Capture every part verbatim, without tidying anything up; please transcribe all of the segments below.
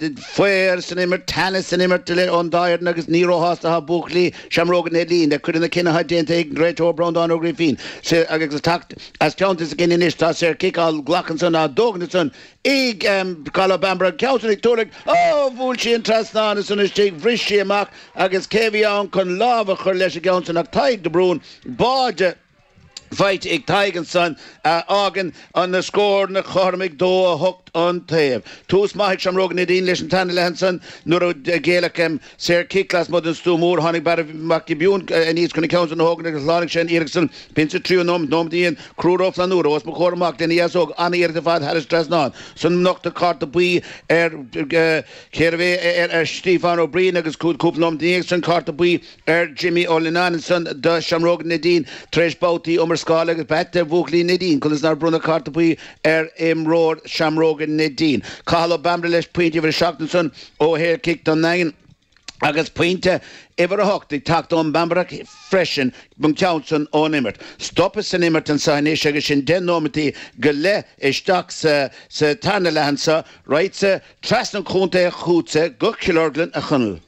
Faobhar san imirt, teannas san imirt ón dá fhoireann agus ní róshásta atá buachaillí Seamróga Neidín le cuid de na cinntí atá déanta ag an réiteoir Breandán Ó Grífín agus teacht as teannta s'againn anois tá saorchic á ghlacadh ansan á dtógaint ansan ag Cathal Ó Bambaire ceann san ag tuartha ó bhuail sí an trasnán ansan istigh bhris sí amach agus cé bhí ann chun lámh a chur leis an gceann san ach Tadhg de Brún báide faighte ag Tadhg ansan a fhágann an scór na cothrom ag dó a hocht an taobh. Tús maith ag Seamróga Neidín leis an tarna leath ansan nuair a géilleadh saorchic lasmuigh den stua mór tháinig Barra Mac Giobúin aníos chun an ceann san a thógaint agus shlánaigh sé an iarracht san b'in sa tríú nóiméad nóiméad aon Conchúr Ó Flannúra os mo chomhair amach lena dheasóg an-iarracht ar fad thar an trasnán san nochtadh cárta buí ar cérbh é ar Stiofán Ó Briain agus cúpla nóiméad ina dhiaidh san cárta buí ar Jimmy Ó Lionáin ansan do Sheamróga Neidín tar éis babhtaí iomrascála agus b'ait le buachaillí Neidín conas nár bronnadh cárta buí ar imreoir Sheamróga Neidín. Cathal Ó Bambaire leis pointe uimhir a seacht ansan ó shaorchic don nDaingean agus pointe uimhir a hocht ag teacht ón mBambarach freisin an ceann san ón imirt. Stopadh san imirt anseo anois agus sin deich nóimeataí go leith isteach sa sa tarna leath anseo, raghadsa trasna an chontae chugatsa go Cill Orglan a Chonaill.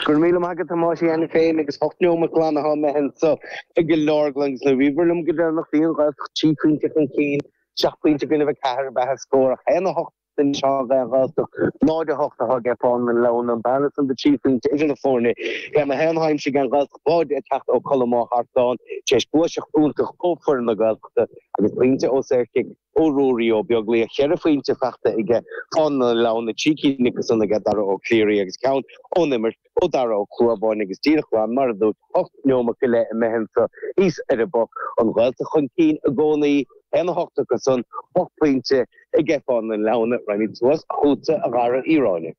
Go raibh míle maith agat a Thomáis cheana féin agus ocht nóimeat glan atá imithe anseo i gCill Orglan agus nuair a bhíobhair liom go deireanach bhí an Ghaeltacht trí phointe chun cinn, seacht bpointe i gcoinnibh a ceathair ab ea an scór ach haon a hocht anois atá ag an Ghaeltacht, náid a hocht atá ag Fánaithe na Leamhna, an bearna san de trí phointe idir na foirne. Céim a haon atá aimsithe ag an Ghaeltacht báide ag teacht ó Colm Ó hArtáin tar éis gluaiseacht iontach ó foireann na Gaeltachta agus pointe ó saorchic ó Ruairí Ó Beaglaoich, ceithre phointe faighte aige Fánaithe na Leamhna, trí cinn acu san aige Dara Ó Cléirigh agus ceann ón imirt ó Dara Ó Clúmháin agus díreach glan mar a dúirt, ocht neomat go leith imithe anso thíos ar an bPoc, an Ghaeltacht chun cinn i gcónaí, haon a hocht acu san, ocht bpointe aige Fánaithe na Leamhna, raghaimid suas chugatsa a Dhara Uí Ráinne.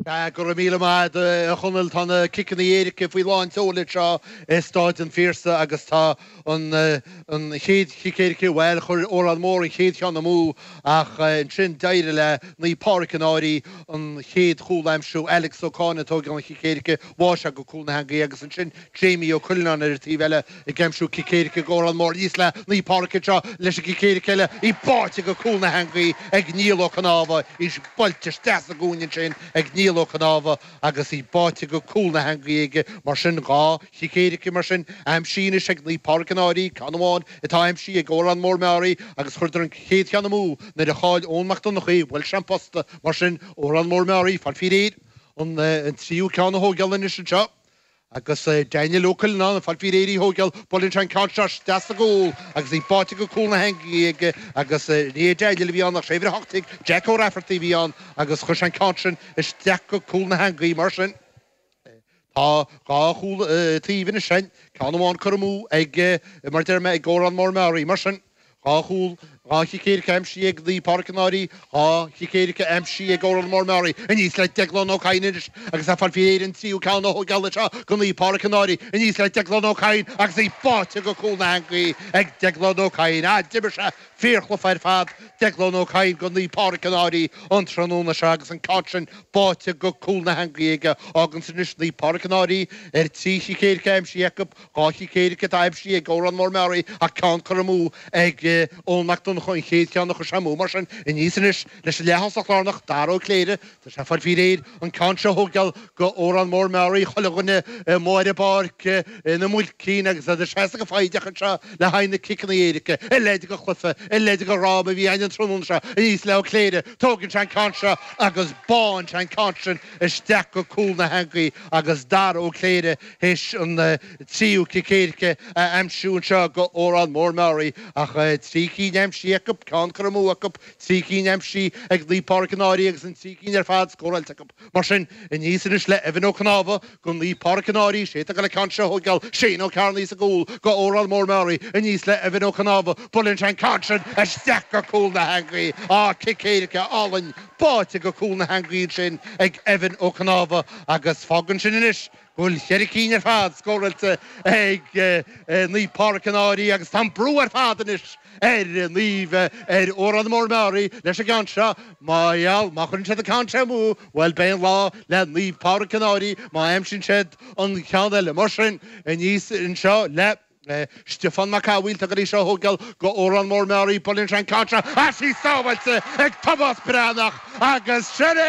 Sea, go raibh míle maith agat, a Chonaill. Tá na ciceanna éirice faoi lán tseoil anseo i Stáid an Phiarsaigh agus tá an an chéad chic éirice, bhuel, chuir Órán Mór an chéad cheann amú ach ansin d'éirigh le Naomh Pádraig an Fhairche an chéad chúl a aimsiú, Alex Ó Cáin ag tógáil an chic éirice, bháigh sé go cúl na heangaí agus ansin Jamie Ó Cuileanáin ar an taobh eile ag aimsiú cic éirice ag Órán Mór. Aníos le Naomh Pádraig anseo leis an gcic éirice eile, í báite go cúl na heangaí ag Niall Ó Cnámha, í buailte isteach sa gcúinne ansin ag Niall Ó Cnámha agus í báite go cúl na heangaí aige. Mar sin, dhá chic éirice mar sin aimsithe anois ag Naomh Pádraig an Fhairche, ceann amháin atá aimsithe ag Órán Mór Meáraí agus chuireadar an chéad cheann amú nuair a chaill Eoin Mac Donncha í, bhuail sé an posta. Mar sin, Órán Mór Meáraí, fáil faoi réir an tríú ceann a thógáil anois anseo. Agus Daniel Ó Cuileanáin ag fáil faoi réir í a thógáil, buaileann sé an ceann seo isteach sa gcúl agus í báite go cúl na heangaí aige agus ní hé Daniel a bhí ann ach sé uimhir a hocht déag, Jack Ó Raifeartaigh a bhí ann agus chuir sé an ceann sin isteach go cúl na heangaí. Mar sin, tá dhá chúl taobh anois againn, ceann amháin curtha amú ag, mar a deir mé, ag Órán Mór Meáraí. Mar sin. Dhá chúl, dhá chic éirice aimsithe ag Naomh Pádraig an Fhairche, dhá chic éirice aimsithe ag Órán Mór Meáraí. Aníos le Deaglán Ó Cadhain anois agus é ag fáil faoi réir an tríú ceann a thógáil anseo go Naomh Pádraig an Fhairche. Aníos le Deaglán Ó Cadhain agus í báite go cúl na heangaí ag Deaglán Ó Cadhain. Ah, d'imir sé fíorchluiche ar fad, Deaglán Ó Cadhain go Naomh Pádraig an Fhairche an tráthnóna seo agus an ceann sin báite go cúl na heangaí aige. Fágann sin anois Naomh Pádraig an Fhairche ar trí chic éirice aimsithe acu. Dhá chic éirice atá aimsithe ag Órán Mór Meáraí ach ceann curtha amú ag Eoin Mac Donncha an chéad cheann a chuir sé amú. Mar sin, aníos anois leis an leath-thosach lárnach, Dara Ó Cléire. Tá sé ag fáil faoi réir an ceann seo a thógáil go Órán Mór Meáraí. Chuile dhuine amuigh ar an bpáirc ina muilcín agus iad ag seasamh go foighdeach anseo le haghaidh na ciceanna éirice. A leithéid de chluiche, a leithéid de dhráma a bhí againn an tráthnóna seo. Aníos le Ó Cléire. Tógann sé an ceann seo agus bánn sé an ceann sin isteach go cúl na heangaí agus Dara Ó Cléire théis an tríú cic éirice a aimsiú anseo go Órán Mór Meáraí ach trí cinn aimsithe acu, ceann curtha amú acu, trí cinn aimsithe ag Naomh Pádraig an Fhairche agus an trí cinn ar fad scóráilte acu. Mar sin, aníos anois le Evan Ó Cnámha go Naomh Pádraig an Fhairche, sé atá ag dul an ceann seo a thógáil, Shane Ó Cearnaigh sa gcúl go Órán Mór Meáraí, aníos le Evan Ó Cnámha, buaileann sé an ceann sin isteach go cúl na heangaí. Á, cic éirice álainn báite go cúl na heangaí ansin ag Evan Ó Cnámha agus fágann sin anois go bhfuil ceithre cinn ar fad scóráilte ag Naomh Pádraig an Fhairche agus tá an brú ar fad anois ar Naomh ar Órán Mór Meáraí leis an gceann seo. Má gheall, má chuireann siad an ceann seo amú, bhuel beidh an lá le Naomh Pádraig an Fhairche má aimsíonn siad an ceann eile. Mar sin, aníos anseo le. Stiofán Mac Cathmhaoil tá go dtí seo a thógáil go Órán Mór Meáraí buaileann sé an ceann seo tá sí sábháilte ag Tomás Breathnach agus sin é